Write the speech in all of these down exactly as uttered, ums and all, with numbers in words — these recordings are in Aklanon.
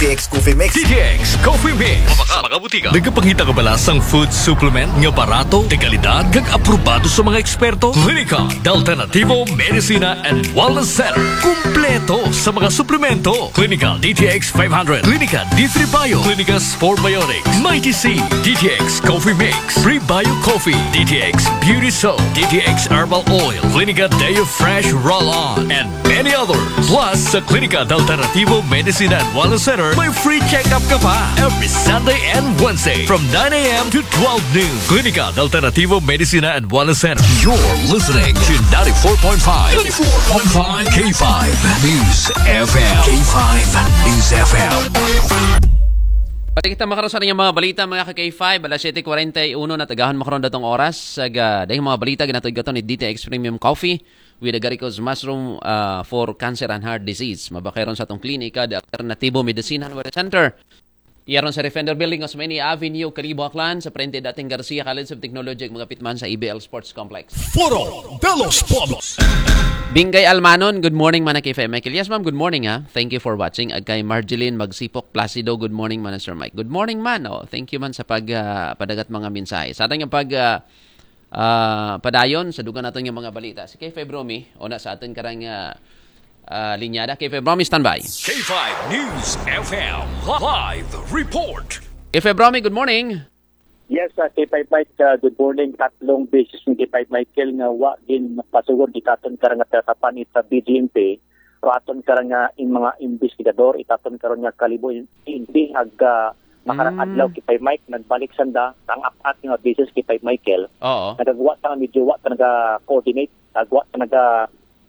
T X Coffee Mix. D T X Coffee Mix. Sa mga butika. Nagapangita ka ba sa food supplement nga barato, de kalidad, kag aprobado sa mga eksperto? Klinika de Alternativo Medicina and Wellness Center. Kumpleto sa mga suplemento. Klinika D T X five hundred, Klinika D three Bio, Klinika Sport Biotics, Mighty C, D T X Coffee Mix, Prebio Coffee, D T X Beauty Soap, D T X Herbal Oil, Klinika Deo Fresh Roll-On, and many others. Plus, sa Klinika de Alternativo Medicina and Wellness Center, may free check-up ka pa every Sunday and Wednesday from nine a.m. to twelve noon. Klinika de Alternativo Medicina and Wellness Center. You're listening to ninety-four point five, ninety-four point five K five News F M. K five News F M. Pati kita makaroon sa inyong mga balita, mga ka-K five, alas siyete kuwarenta'y uno na tagahon makaroon datong oras. Sa ga, dahil mga balita, ginatawag ito ni D T X Premium Coffee with Agaricos Mushroom uh, for Cancer and Heart Disease. Mabakay ron sa atong klinika, the Alternativo Medicine and Wellness Center. Iyaron sa Defender Building, Osmeña Avenue, Kalibo, Aklan, sa frente dating Garcia College of Technology, magapit man sa E B L Sports Complex. Foro de los Pueblos. Bingay Almanon, good morning, mana K five Michael. Yes, ma'am, good morning, ha. Thank you for watching. Ag kay Marjeline Magsipok Placido, good morning, mana Sir Mike. Good morning, man. Oh, thank you, man, sa pag, ah, padagat mga mensahe. Sa ating pag, ah, ah, padayon, sa dugan natin yung mga balita. Si K five Romy, una sa atin karang ah, ah, linyada. K five Romy, standby. K five News F M live report. K five Romy, good morning. Yes, uh, K five Mike, uh, good morning. Tatlong beses ni K five Michael nga wa gin pasugod itaton karang nga tatapan ita B G M P. Pero aton karang nga in mga investigador itaton karon nga Kalibo, hindi ag uh, makarang Mm. adlaw K five Mike nagbalik sanda ang apat nga beses K five Michael. Oo. Nagagawa ta nga medyo wa ta naga-coordinate, nagagawa ta naga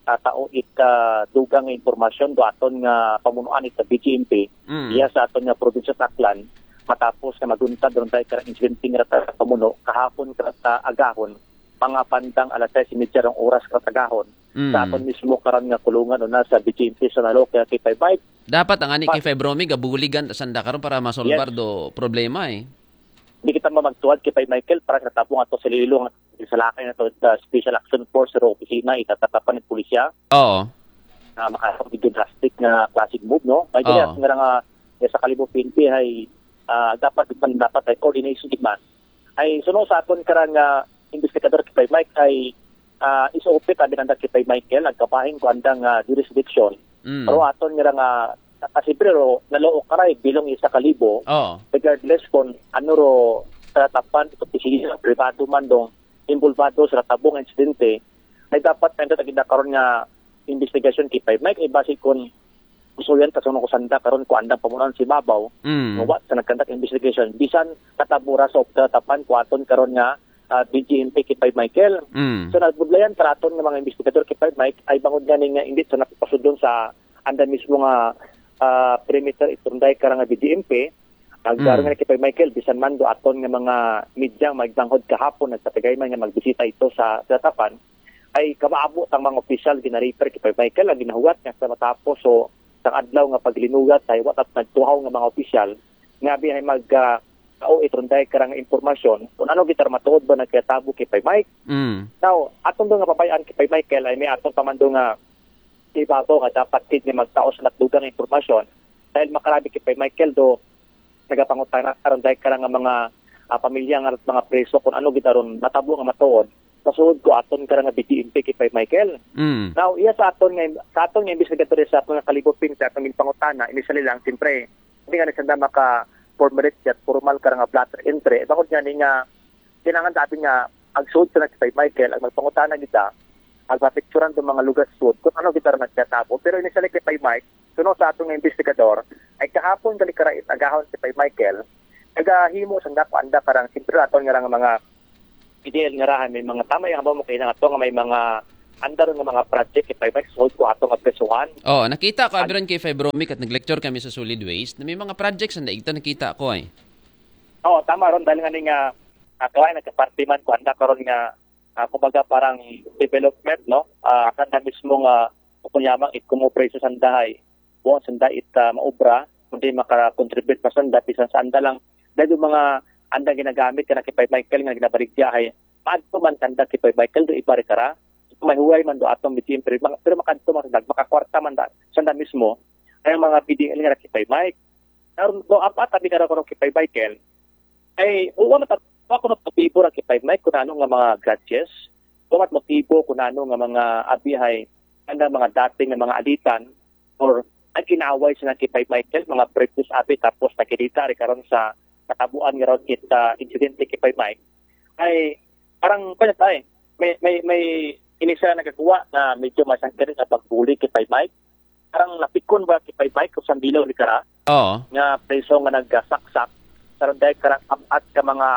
tatao ita dugang nga impormasyon do aton nga pamunuan ita B G M P. Mm. Iya sa aton nga probinsya sa Aklan, matapos nga maguntad ron tayo karang insidente nga rata pamuno kahapon karata agahon, mga bandang alas sais y media rong oras karata agahon. Mm. Sa aton mismo karon nga kulungan o na sa B G M P sa Naloke, K five Mike. Dapat ang ani Pa- K five Romy, gabuligan ta sanda karon para masolbar Yes. do problema eh. Hindi kita mamagtuad K five Michael para sa tabong ato sa Iloilo nga sa lakay na to, the Special Action Force sa opisina, itatatapan ng pulisya. Oo. Na makakapag drastic nga classic move, no? May Oo. dili nga nga ya sa Kalibo P N P ay ah, dapat man dapat ay coordination gid man. Ay suno sa aton karang ah, investigador K five Mike ay ah, is open kami nanda K five Michael ang kabahin ko andang ah, jurisdiction. Mm. Pero aton nga nga kasi pero naloo karay bilong isa Kalibo Oo. regardless kung ano ro sa tapan ito pisina privado man dong involvado sa tabong insidente ay dapat nanda tagida karon nga investigasyon K five Mike ay base kung gusto yan kasunod ko sanda karon ko andang pamunuan si Babaw Mm. nga wa sa nagkandak investigation bisan katabura sa opta tapan ko aton karon nga ah, B G M P K five Michael. Mm. So nagbudlayan taraton nga mga investigador K five Mike ay bangod nga ning nga indit sa napapasudlon sa anda mismo nga ah, perimeter itunday karang nga B G M P. Ang Mm. karon nga K five Michael bisan man do aton nga mga media magbanghod kahapon nagpatagay man nga magbisita ito sa Tatapan ay kamaabo tang mga opisyal ginarefer K five Michael ang ginahuwat nga sa matapos so sang adlaw nga paglinugat ay wa ta nagtuhaw nga mga opisyal nga bihay mag ah, o itrunday karang impormasyon kung ano gitar matuod ba nagkatabo K five Mike. Mm. Now, atong do nga pabayaan K five Michael ay may atong pamando nga ibabaw nga dapat kid nga magtaos na dugang impormasyon dahil makarabi K five Michael do nagapangutana aron dahil karang nga mga ah, pamilya nga mga preso kung ano gid aron matabo nga matuod pasuod ko aton karang nga B G M P K five Michael. Mm. Now, iya sa aton nga sa aton nga investigador sa aton nga Kalibo P N P sa aton gipangutana initially lang siyempre hindi nga sanda maka formulate at formal karang nga blotter entry. Bangod nga ni nga kinahanglan dapat nga agsuod sa K five Michael ang magpangutana kita ang mapicturan do mga lugar sud kung ano kita nagkatabo. Pero initially K five Mike, suno sa atong investigador, ay kahapon gali karait agahon K five Michael, nagahimo sanda ko anda karang siyempre aton nga rang mga ideal nga rahan may mga tama yung habaw mo kailangan ato nga may mga andar nga mga project K five Mike suod ko ato nga presuhan. Oh, nakita ko abiron K five Romy kat nag-lecture kami sa solid waste na may mga projects na igta nakita ko eh. Oo, tama ron dahil nga ni nga uh, kawai nagkaparte man ko anda karon nga ah, kumbaga parang development no ah, sanda mismo nga kunyamang it kumo preso sanda ay buong sanda it ah, maobra kundi maka-contribute pa sanda bisan sa anda lang dahil yung mga anda ginagamit ka na kay Michael nga ginabaligya ay maadto man sanda kay Michael do iba rin kara may huway man do atong B T M pero, mga- pero makadto man sanda makakwarta man da, sanda mismo ay ang mga P D L nga kay Mike Karon ko, apat abi kara karon kay Five Michael. Ay, uwa mata, wa ko nagpabibor ang kay Five Mike kung ano nga mga grudges. Wa mat motibo kung ano nga mga abi hay ana mga dating nga mga alitan or ang kinaway sa kay Five Michael, mga previous abi, tapos nakilita rin karon sa katabuan nga ron it, ah, insidente kay Five Mike. Ay, parang, kanya tayo, may, may, may inisa nagagawa na medyo masangkirin sa pagbuli kay Five Mike. Parang napikon ba kay Five Mike kung sambilaw ni kara Oo. nga preso nga nagsaksak sa runday karang apat ka mga,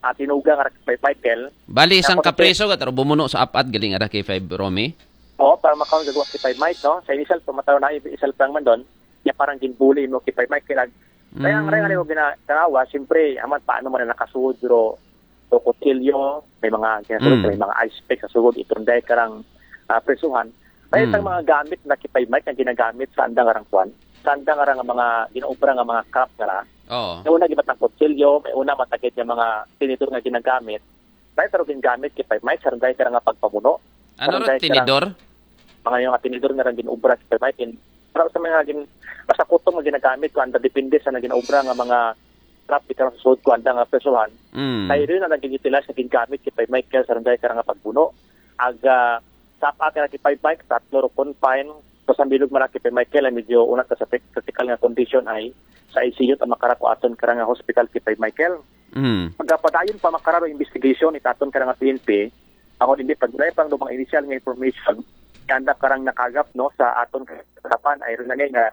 ah, tinuga nga kay Five Michael. Bali, isang Tapos, kapreso ka, pero bumuno sa apat galing ara kay Five Romy. Oo, para makaon gagawa kay Five Mike, no? Sa isal, pamataw na isal pang man doon, niya parang ginbuli mo kay Five Mike, kaya kaya ang Mm. rayang ko ginatanawa, siyempre, aman, paano man na nakasuod, pero so kutsilyo, may mga ginatulog, Mm. may mga ice pick sa sugod, itong dahil karang, ah, presuhan. Kaya Mm. itong mga gamit na kay Five Mike ang ginagamit sa andang arang kwan, sa andang arang mga ginaobra nga mga craft nga ra. Oo. May una gibat ng kutsilyo, may una matagid nga mga tinidor nga ginagamit. Dahil pero ginagamit kay Five Mike, sa dahil karang nga pagpamuno. Ano Sa ro, dahil karang tinidor? Mga yung tinidor nga rang ginaobra kay Five Mike. In, para sa mga gin, basta kuto nga ginagamit ko, anda depende sa naginaobra nga mga craft, ikaw sa suod ko, anda nga presuhan. Mm. Kaya rin ang nagigitila sa gingamit kay Five Mike sa dahil karang nga pagbuno. Ag, ah, sa apat ka na kay Five Mike, tatlo ro confine. So, sa bilog man kay Five Mike, ay medyo unat ka sa tek-, critical nga condition ay sa I C U, ta makarako aton karang nga hospital kay Five Michael. Mm. Pagpadayon pa makararo investigation itaton karang nga P N P, ako hindi pagdulay pang lumang initial nga information, kanda karang nakagap, no, sa aton kasapan ay rin na nga,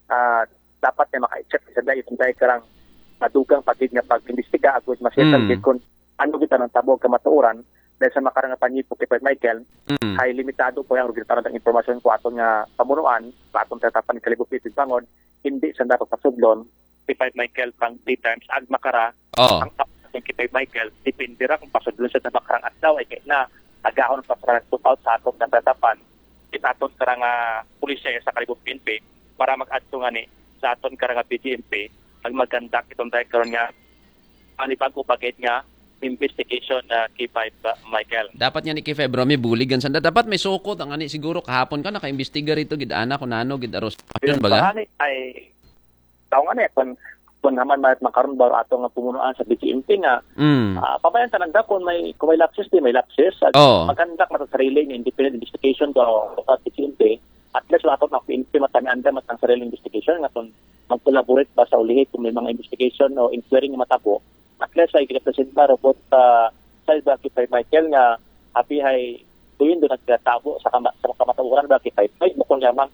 ah, dapat na maka-check sa dahil itong dahil karang madugang pagid nga pag-imbestiga agud masettle Mm. gid kung ano kita ng tabog kamatuoran dahil sa makarang nga panyipo kay Five Michael, Mm. ay limitado po yung resulta ng impormasyon ko aton nga pamunuan, aton tatapan ng Kalibog City Bangon, hindi sa dapat pasudlon kay Five Michael pang three times ag makara Oo. ang tapos kay Five Michael, depende ra kung pasudlon sa makarang adlaw ay kay na agahon pa sa nagtupaw sa aton nga tatapan, itaton karang nga pulisya sa Kalibog P N P para mag-adto nga ni sa aton karang nga P G M P ang magkandak itong dahil karon nga panibago bagay nga investigation na kay Five, uh, Michael. Dapat nga ni kay Five Romy buligan sanda. Dapat may sukot ang ani siguro kahapon ka nakaimbestiga rito gid ana kung nano gid aros. Yun baga? Baka ni ay tao nga na kung kung naman may makaroon ba ato nga pumunuan sa B G M P nga Mm. ah, pabayan tananda kung may kung may lapses di may lapses at Oo. maganda mata sarili ni independent investigation ko sa B G M P at least ato na P N P matanianda matang sarili investigation nga kung mag-collaborate ba sa ulihi kung may mga investigation o inquiry nga matabo at least ay ginapresenta robot sa sa iba kay Michael nga abi hay tuyon do nagtabo sa kama, sa kamatuoran ba kay Five bukon lamang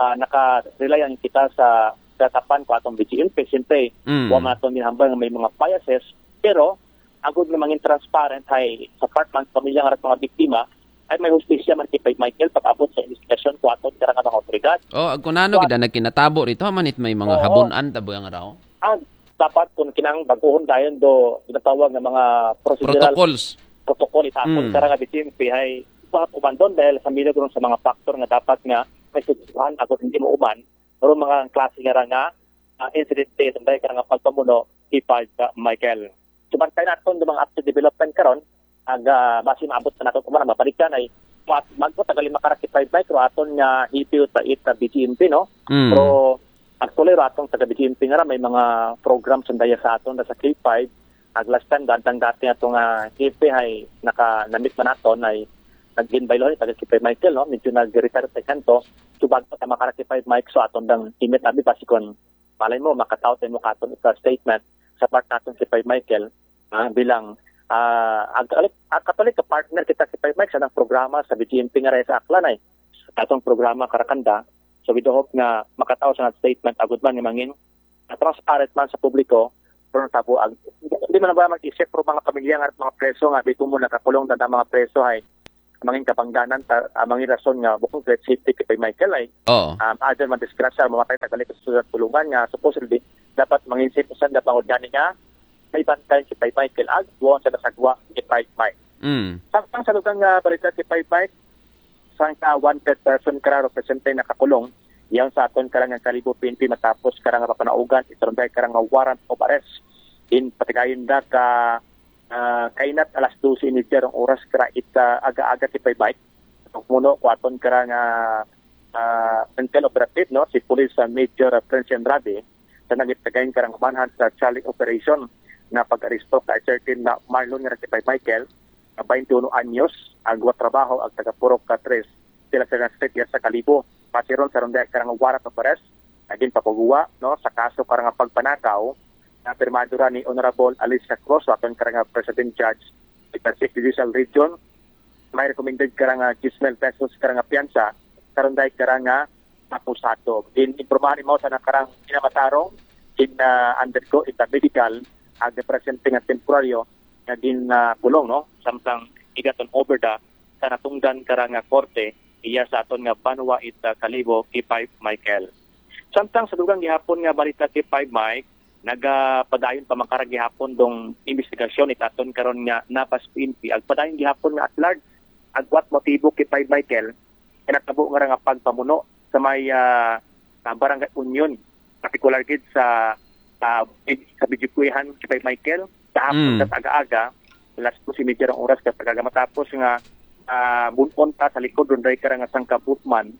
ah, naka-rely ang kita sa tatapan ko atong B G M P. Siyempre, Mm. wa man atong ginhambal nga may mga biases, pero agud nga mangin transparent hay sa part man sa pamilya nga mga biktima ay may hustisya man kay Michael pag-abot sa investigasyon ko aton karang mga otoridad. Oh, ag kunano gid ang nagkinatabo rito, manit may mga Oo. habunan tabo ang raw. Ang dapat kung kinang baguhon dayon do ginatawag nga mga procedural Protocols. protocol itapon Mm. karang nga B G M P ay dapat umandon dahil sa milagro sa mga factor nga dapat nga may susuhan ako hindi mo uman pero mga klase nga ra nga ah, incident sa dahil karang nga pagpamuno kay Five, ah, Michael. Subantay naton do mga update development karon ag ah, basi maabot na nato kumara mabalikan ay mag magpatagal yung makarakit Five Mike ro aton nga hipiw sa it ah, B G M P, no? Mm. Pero actually ro atong taga B G M P nga ra may mga program sandaya sa aton sa K five ag last time dadang dati ato nga K P ay naka namit man naton ay nagginbaylo ni taga K five Michael, no? Medyo nag-retire sa kanto. So bago ta makarakit Five Mike so aton dang imit abi basi kon malay mo makataw tayo mo katon isa statement sa part naton kay Five Michael ah, bilang ah, ag, ag, Katolik ka partner kita kay Five Mike sa nang programa sa B G M P nga ra sa Aklan ay atong programa karakanda. So we do hope nga makataw sa statement agud man nga mangin ah, transparent man sa publiko pero natabo ag hindi man ba mag-isip pero mga pamilya nga mga preso nga bito mo nakakulong na mga preso ay mangin kabangdanan ta, ah, mangin rason nga bukod great safety kay Michael ay Oo. um, other man disgrasya mamatay tagalik sa sulat tulungan nga supposedly dapat mangin safe sa dapat gani nga may bantay si Five Michael ag duwang sa nasagwa si Five Mike. Mm. Samtang sa lugar nga balita si Five Mike, sang ka wanted person kara represente nakakulong yan sa aton karang nga Kalibo P N P matapos karang nga papanaugan itarunday karang nga warrant of arrest in patigayon da ka ah, kainat alas dose y media rong oras kara ita aga-aga si Five Mike. Muno ko aton karang ah, ah, intel operative, no, si Police ah, Major ah, Prince Andrade sa nagitagayon karang manhunt sa Charlie operation na pag-aresto kay certain na Marlon nga nagtipay Michael, na twenty-one anyos, agwa trabaho, ag taga Purok ka Tres, sila sa street sa Kalibo. Pasiron sa ronda karang warrant of arrest, naging papaguwa, no, sa kaso karang pagpanakaw, na pirmado ra ni Honorable Alicia Cruz, aton karang President Judge, sa Sixth Judicial Region, may recommended karang ah, ten mil pesos karang piyansa, karon dahil karang ah, akusado. Din, impormahan mo sa nakarang kinamatarong, in uh, undergo ita medical, ag presente nga temporaryo, nga din uh, kulong, no? Samtang igaton over da sa natungdan karang ah, korte, iya sa aton nga banwa ita Kalibo, K five Michael. Samtang sa dugang gihapon nga balita K five Mike, nagapadayon pa man karang gihapon dong investigasyon itaton karon nga Nabas P N P. Agpadayon gihapon nga at large, agwat motibo K five Michael, kinatabo nga nga pagpamuno sa may ah, sa Barangay Union, partikular gid sa ah, sa Bidyo Kuyahan K five Michael, kahapon Mm. sa aga-aga, alas dos y media rang oras ka pagkaga matapos nga ah, bunon ta sa likod ron dahil karang nga sangka boatman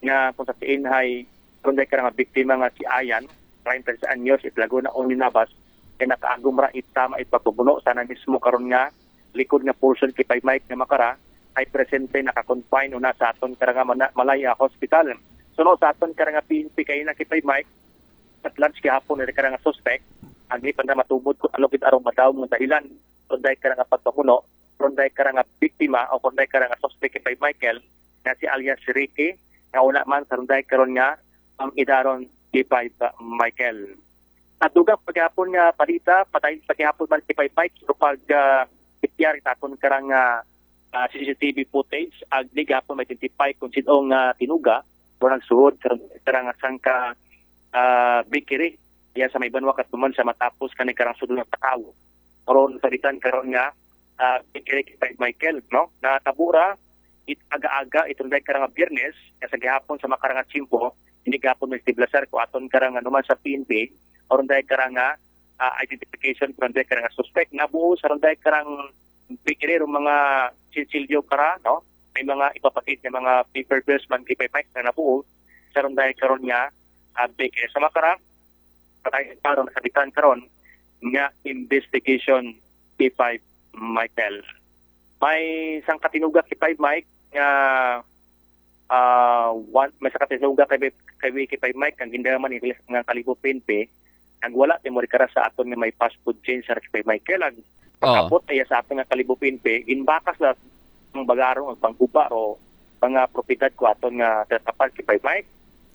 nga kung sa tiin hay ron dahil karang nga biktima nga si Ayan, treinta anyos, itlago na Oni Nabas, kay nakaagom ra itama ipagpabuno sana mismo karon nga likod nga portion K five Mike nga makara ay presente naka-confine una sa aton karang nga mana- Malaya Hospital. Suno sa aton karang nga P N P kay na K five Mike, at large gihapon na karang nga suspect, agni pa na matubod kung ano gid arong madawong nga dahilan, kung dahil karang nga pagpamuno, kung dahil karang nga biktima o kung dahil karang nga suspect K five Michael, na si alias Ricky, nga una man sa runday karon nga ang idaron K five Michael. At dugang paghapon nga balita, padayon paghapon man K five Mike, pero pag uh, ityari takon karang ah, ah, C C T V footage, agni gapon ma-identify kung sino nga tinuga o nagsuhod karang, karang sangka ah, bakery. Iya sa may banwa katuman sa matapos kani karang sudlo nga tawo. Karon sa bitan karon nga ah, bakery kay Michael, no? Natabo ra it aga-aga itong dahil karang Biyernes, nga sa gihapon sa makarang tiyempo, hindi gapon may stiblasar ko aton karang anuman sa P N P, aron dahil karang ah, identification kung dahil karang suspect. Nabuo sa ron dahil karang bakery, mga sinsilyo kara, no? May mga ipapakit nga mga paper bills man kay Mike na nabuo sa ron dahil karon nga ah, bakery. Sa makarang, patay karon, sa bitan karon nga investigation K five Michael. May isang katinuga K five Mike nga ah, one, may isang katinuga kay kay K five Mike ang gindaman ni nga Kalibo P N P, nagwala ti mo rikara sa aton nga may fast food chain sa K five Michael. Ang Oh. pagkabot ay sa aton nga Kalibo P N P, ginbakas na ang bagarong ang pangguba ro mga propiedad ko aton nga tatapan K five Mike.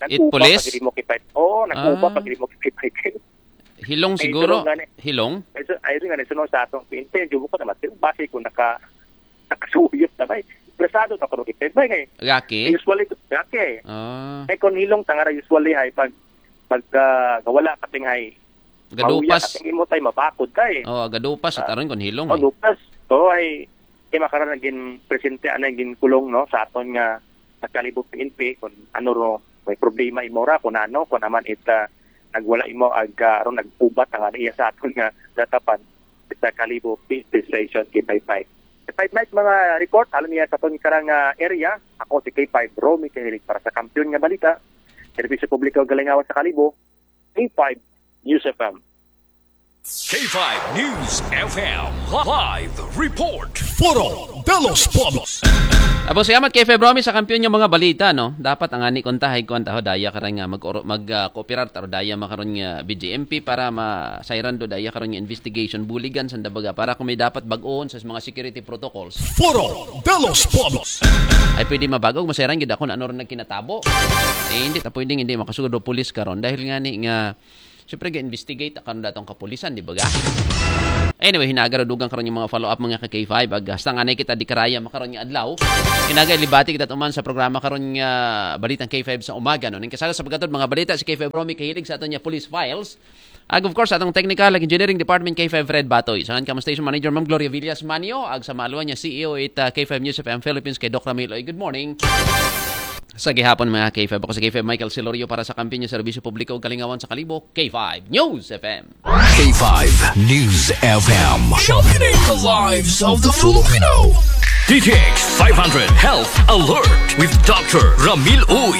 It police? Pag mo K five. Oo, nagkuba Ah. pag mo K five Mike. Hilong Ay, siguro. tulong gani. Hilong. Ay, so, ay, rin nga, sunod sa atong P N P, yung ko naman, base ko naka, nakasuyot na ba eh. Interesado na ko rin, ba eh. Gaki. Usually, okay. Ah, Eh, kung hilong tangara, usually ay pag, pag ah, wala ka ting ay, gadupas. Kating imo tay mabakod ka eh. Oh, gadupas at aron kon hilong. Oh, Eh. Lupas. Oo, ay, kay makara naging presente, ano, naging kulong, no, sa aton nga nagkalibo P N P, kung ano ro, may problema imo ra, kung ano, kung naman it, ah, nagwala imo, ag, ah, aron nagpubat ang ano iya sa aton nga datapan, sa Kalibo P N P Station, K five Mike. K five Mike, mga report, alam niya sa aton karang ah, area, ako si K five Romy Kahilig para sa Kampiyon nga Balita, Serbisyo Publiko Galingawan sa Kalibo, K five News F M. K five News F M Live Report. Foro de los Pueblos. Apo, salamat kay Feb Romy sa Kampiyon nga mga balita, no? Dapat ang ani kontahay ko ang taho daya karon nga mag mag ah, kooperar taro daya makaron nga B J M P para masayran do daya karon nga investigation buligan sa dabaga para kung may dapat bag-on sa mga security protocols. Foro de los Pueblos. Ay pwede mabagog masayran gid ako na ano rin nagkinatabo. Eh, hindi ta pwedeng hindi makasugod do pulis karon dahil nga ni nga siyempre ga-investigate karon datong kapulisan, di ba ga? Anyway, hinaga ra dugang karon yung mga follow-up mga ka K five. Ag hasta nga na kita di karaya makaron nga adlaw. Hinaga libati kita tuman sa programa karon nga Balitang K five sa umaga, no? Ning kasala sa pagkatod mga balita si K five Romy Kahilig sa aton nga police files. Ag of course, atong technical ag engineering department K five Fred Batoy. Sa ka mo station manager Ma'am Gloria Villas Manio, ag sa maaluan niya C E O it uh, K five News F M Philippines kay Doc Ramil Oy. Good morning. Sa gihapon mga K five, ako si K five Michael Silorio para sa Kampiyon nga Serbisyo Publiko ug Kalingawan sa Kalibo, K five News F M. K five News F M. Sharpening the lives of the Filipino. D T X five hundred Health Alert with Doctor Ramil Uy.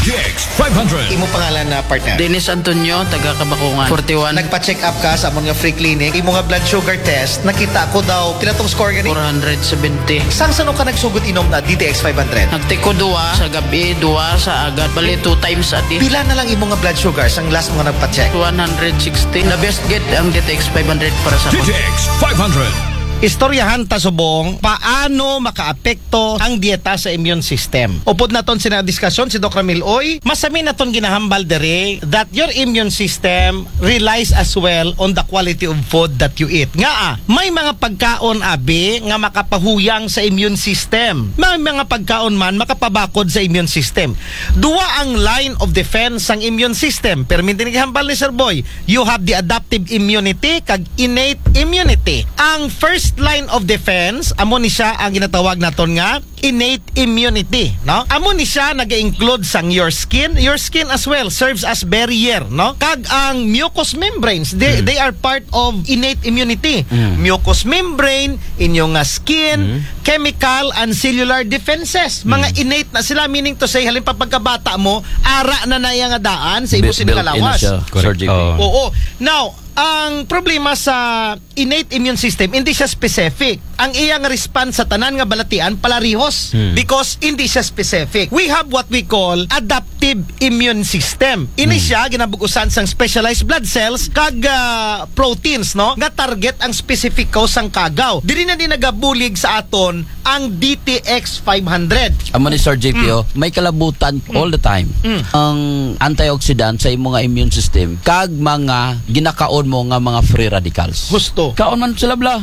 X five hundred. Imo pangalan na partner? Dennis Antonio, taga Kabakungan. Forty-one. Nagpa-check up ka sa amon nga free clinic. Imo nga blood sugar test, nakita ko daw, pila tong score gani? Four hundred seventy. Sang sano ka nagsugod inom na D T X five hundred? Nagtiko duwa sa gabi, duwa sa agad. Bali, two times a day. Pila na lang imo nga blood sugar sang last mo nga nagpa-check? One hundred sixty. The best gid ang D T X five hundred para sa D T X five hundred. Istoryahan ta subong paano makaapekto ang dieta sa immune system. Upod naton sina diskusyon si Doc Ramil Oy, masami naton ginahambal diri that your immune system relies as well on the quality of food that you eat. Nga ah, may mga pagkaon abi nga makapahuyang sa immune system. May mga pagkaon man makapabakod sa immune system. Duwa ang line of defense sang immune system. Perminti ni gihambal ni Sir Boy, you have the adaptive immunity kag innate immunity. Ang first line of defense, amo ni siya ang ginatawag naton nga innate immunity, no? Amo ni siya naga-include sang your skin. Your skin as well serves as barrier, no? Kag ang mucous membranes, they, they are part of innate immunity. Mucous membrane, inyo nga skin, chemical and cellular defenses. Mga innate na sila, meaning to say, halin pa pagkabata mo, ara na na iya nga daan sa imo Built, built in na siya, sir J P. Oo. Now, ang problema sa innate immune system, hindi siya specific. Ang iyang response sa tanan nga balatian, palarihos. Because hindi siya specific. We have what we call adaptive immune system. Ini siya, ginabug-usan sang specialized blood cells, kag ah, proteins, no? Nga target ang specific cause sang kagaw. Diri na ni nagabulig sa aton ang D T X five hundred. Amo ni Sir J P, oh, may kalabutan all the time. Ang antioxidant sa imo nga immune system, kag mga ginakaon mo nga mga free radicals. Husto. Kaon man sila bla.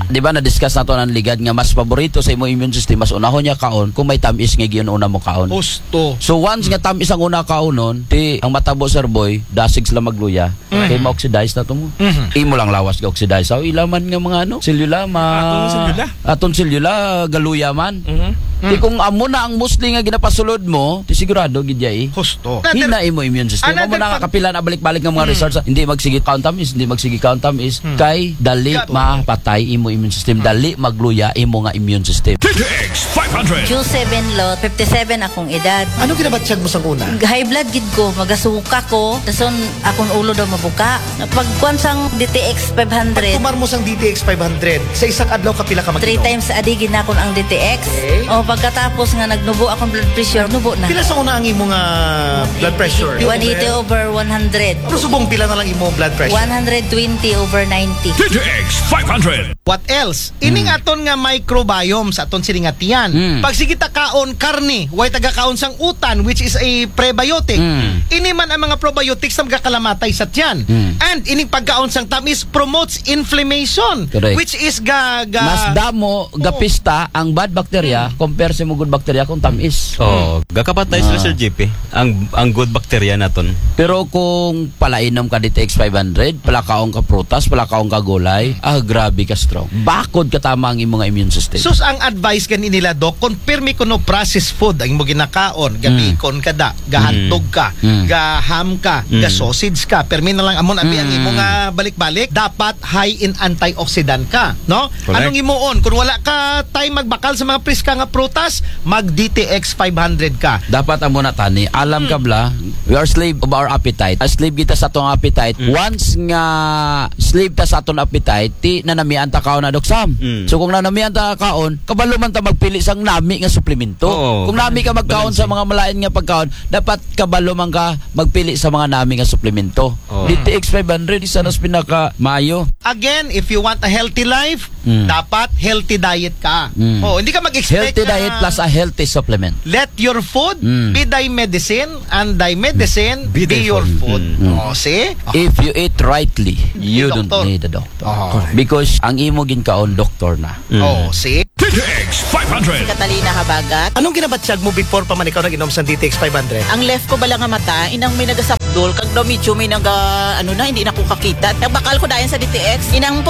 Di ba na-discuss nato ang ligad nga mas paborito sa imo immune system, mas unahon niya kaon kung may tamis nga giun-una mo kaon. Husto. So once nga tamis ang una kaunon, ti ang matabo, Sir Boy, dasig sila magluya. Kay ma-oxidize na to mo. Imo lang lawas ga-oxidize. Sa ila man nga mga ano, selula, ma- Atong selula. Atong selula, galuya man. Ti kung amo na ang mostly nga ginapasulod mo, ti sigurado gid ya eh. Husto. Hina imo immune system. Amo na nga kapila na balik-balik nga mga research, ah, hindi magsige kaon tamis, hindi magsige kaon tamis, kay dali mapatay imo immune system, dali magluya imo nga immune system. D T X five hundred. June seven, Lot, fifty-seven akong edad. Ano ginabatyag mo sang una? High blood gid ko, magasuka ko, dason akong ulo daw mabuka. Pagkuan sang D T X five hundred. Pagtumar mo sang D T X five hundred, sa isa ka adlaw kapila ka mag-inom? Three times a day ginakon ang D T X. Okay. O pagkatapos nga nagnubo akong blood pressure, nubo na. Pila sa una ang imo nga blood pressure? One eighty over one hundred. Pero subong pila na lang imo blood pressure? One hundred twenty over ninety. D T X five hundred. What else? Ining aton nga microbiome sa aton sini nga tiyan. Pag sige ta kaon karne, way taga kaon sang utan, which is a prebiotic. Ini man ang mga probiotics na magakalamatay sa tiyan. And ining pagkaon sang tamis promotes inflammation, correct, which is ga, ga- Mas damo gapista ang bad bacteria compare sa mga good bacteria kung tamis. Oh, gakapatay sila, Sir J P. Ang ang good bacteria naton. Pero kung palainom ka D T X five hundred, palakaon ka prutas, palakaon ka gulay, ah, grabe ka strong. Bakod ka tama ang imong immune system. Sus, ang advice gani nila, Doc, kung pirmi kuno processed food ang imo ginakaon, gabikon ka da, gahandog ka, gaham ka, gasausage ka, pirmi na lang amon abi ang imo nga balik-balik, dapat high in antioxidant ka, no? Correct. Anong imuon? Kung wala ka time magbakal sa mga priska nga prutas, mag D T X five hundred ka. Dapat amo na tani. Alam ka bla, we are slave of our appetite. A slave kita sa atong appetite. Once nga slave ta sa atong appetite, ti nanamian ta kaon na, Doc Sam. So kung nanamian ta kaon, kabalo man ta magpili sang nami nga suplemento. Oo. Kung nami ka magkaon sa mga malain nga pagkaon, dapat kabalo man ka magpili sa mga nami nga suplemento. Oo. D T X five hundred, isa nas pinaka maayo. Again, if you want a healthy life, dapat healthy diet ka. Oh, hindi ka mag-expect healthy diet plus a healthy supplement. Let your food be thy medicine and thy medicine be your food. Oh, see? If you eat rightly, you don't need a doctor. Oh. Because ang imo ginkaon, doktor na. Oh, see? D T X five hundred. Catalina Habagat. Anong ginabatyag mo before pa man ikaw nag-inom sa D T X five hundred? Ang left ko bala nga mata, inang may nagasapdol, kag daw medyo may naga, ano na, hindi na ko kakita. Nagbakal ko dayon sa D T X. Inang